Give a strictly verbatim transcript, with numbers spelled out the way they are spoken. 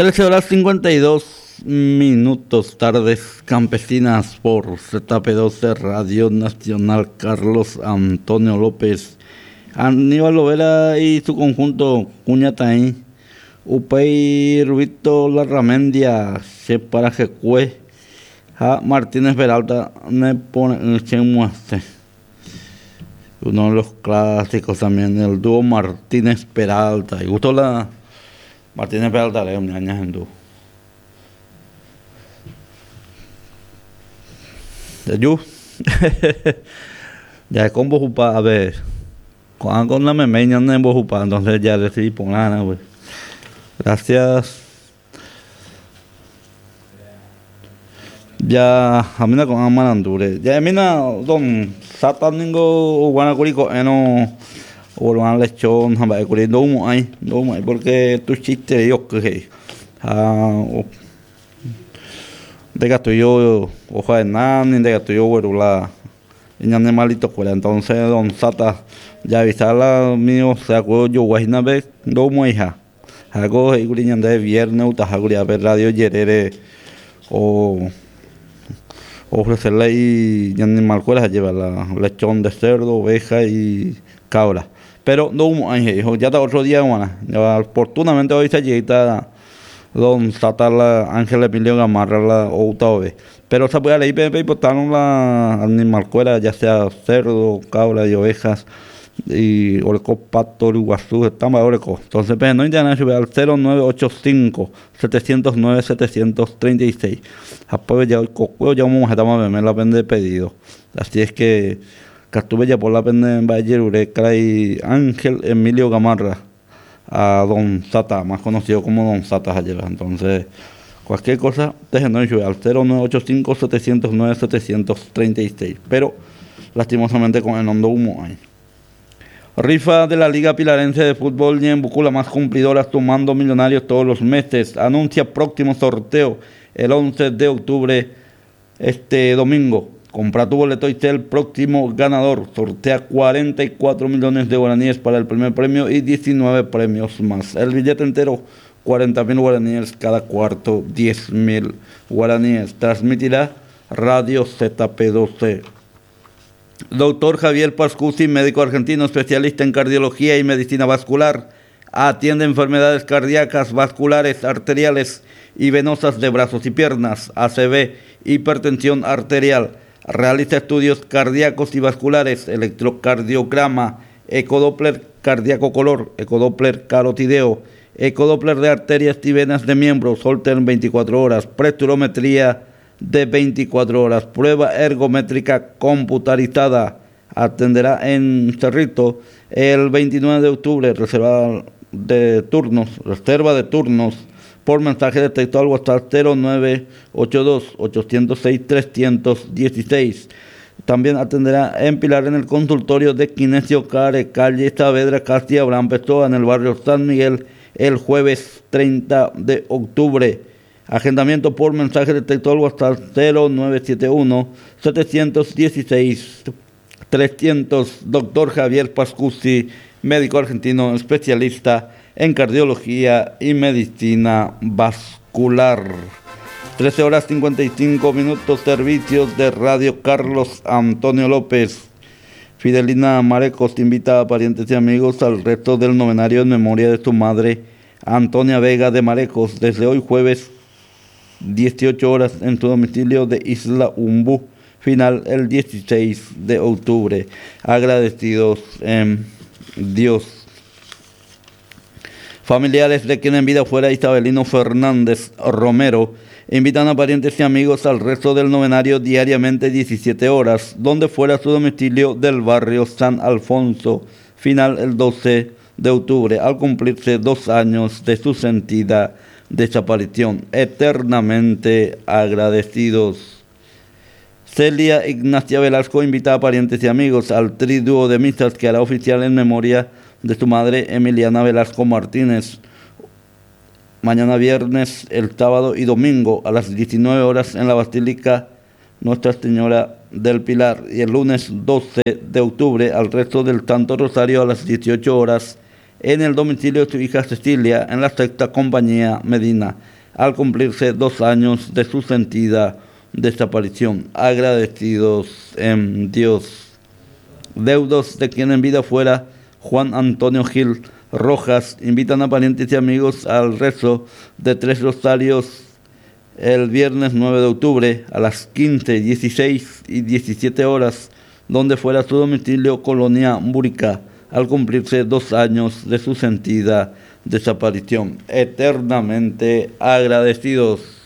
trece horas cincuenta y dos minutos, tardes campesinas por Z P doce Radio Nacional Carlos Antonio López. Aníbal Lovera y su conjunto Cuñataí, Upey Rubito Larramendia, Separajecue, a Martínez Peralta, ne pone Chemuaste. Uno de los clásicos también, el dúo Martínez Peralta. Y gustó la Martínez Peralta, le un año en dúo. Ya yo, ya con Bojupa, a ver, con, con la memeña en Bojupa, entonces ya decidí poner, pues. Gracias. Ya, a mí no con Amarandure. Ya, a mí no, don Satan ningo guanacurico, eno, o lo han lechón, jamba, curi, no humo ahí, no humo ahí, porque tu chiste, yo que, ah, o, de gato yo, hoja de nani, de gato yo, güerula, y animalito cuera. Entonces, don Sata, ya avisala mío, se acuerdo yo, guajina ve, no humo hija. Hago, y curi, ñande viernes, utajaguri, a ver, radio yerere, o ofrecerle y animal cuera, lleva la lechón de cerdo, oveja y cabra. Pero no hubo ángel, dijo, ya está otro día, bueno, ya, oportunamente hoy se llega don Sata la Ángel Emilio Gamarra la outa ove. Pero se puede leer P P y botaron la animal cuera, ya sea cerdo, cabra y ovejas, y oreco pato, uruguazú, estamos oreco. Entonces, pues, no internet sube al cero nueve ocho cinco, setecientos nueve, setecientos treinta y seis. Después ya el cocueo, ya vamos a estar más la pende de pedido. Así es que Castube ya por la pende en Valle Ureca y Ángel Emilio Gamarra a Don Sata, más conocido como Don Sata ayer. Entonces, cualquier cosa, déjenos sube al cero nueve ocho cinco, setecientos nueve, setecientos treinta y seis. Pero, lastimosamente, con el hondo humo ahí. Rifa de la Liga Pilarense de Fútbol Ñembucú, la más cumplidora, sumando millonarios todos los meses. Anuncia próximo sorteo el once de octubre, este domingo. Compra tu boleto y sé el próximo ganador. Sortea cuarenta y cuatro millones de guaraníes para el primer premio y diecinueve premios más. El billete entero, cuarenta mil guaraníes, cada cuarto, diez mil guaraníes. Transmitirá Radio Z P doce. Doctor Javier Pascucci, médico argentino, especialista en cardiología y medicina vascular, atiende enfermedades cardíacas, vasculares, arteriales y venosas de brazos y piernas, A C V, hipertensión arterial. Realiza estudios cardíacos y vasculares, electrocardiograma, ecodoppler cardíaco color, ecodoppler carotideo, ecodoppler de arterias y venas de miembros, Holter en veinticuatro horas, preturometría de veinticuatro horas, prueba ergométrica computarizada. Atenderá en Cerrito el veintinueve de octubre, reserva de turnos, reserva de turnos por mensaje de texto al WhatsApp cero nueve ocho dos, ochocientos seis, trescientos dieciséis. También atenderá en Pilar en el consultorio de Kinesio Care, calle Saavedra, casi Abraham Pessoa, en el barrio San Miguel, el jueves treinta de octubre. Agendamiento por mensaje de texto al WhatsApp cero nueve siete uno, setecientos dieciséis, trescientos. Doctor Javier Pascucci, médico argentino, especialista en cardiología y medicina vascular. trece horas cincuenta y cinco minutos, servicios de Radio Carlos Antonio López. Fidelina Marecos invita a parientes y amigos al resto del novenario en memoria de su madre, Antonia Vega de Marecos, desde hoy jueves dieciocho horas en su domicilio de Isla Umbú, final el dieciséis de octubre. Agradecidos en Dios. Familiares de quien en vida fuera Isabelino Fernández Romero invitan a parientes y amigos al resto del novenario diariamente diecisiete horas, donde fuera su domicilio del barrio San Alfonso, final el doce de octubre, al cumplirse dos años de su sentida desaparición. Eternamente agradecidos. Celia Ignacia Velasco invita a parientes y amigos al triduo de misas que hará oficial en memoria de su madre Emiliana Velasco Martínez. Mañana viernes, el sábado y domingo a las diecinueve horas en la Basílica Nuestra Señora del Pilar, y el lunes doce de octubre al resto del Santo Rosario a las dieciocho horas en el domicilio de su hija Cecilia, en la sexta compañía Medina, al cumplirse dos años de su sentida desaparición. Agradecidos en Dios. Deudos de quien en vida fuera Juan Antonio Gil Rojas, invitan a parientes y amigos al rezo de tres rosarios el viernes nueve de octubre a las quince, dieciséis y diecisiete horas, donde fuera su domicilio, Colonia Burica, al cumplirse dos años de su sentida desaparición. Eternamente agradecidos.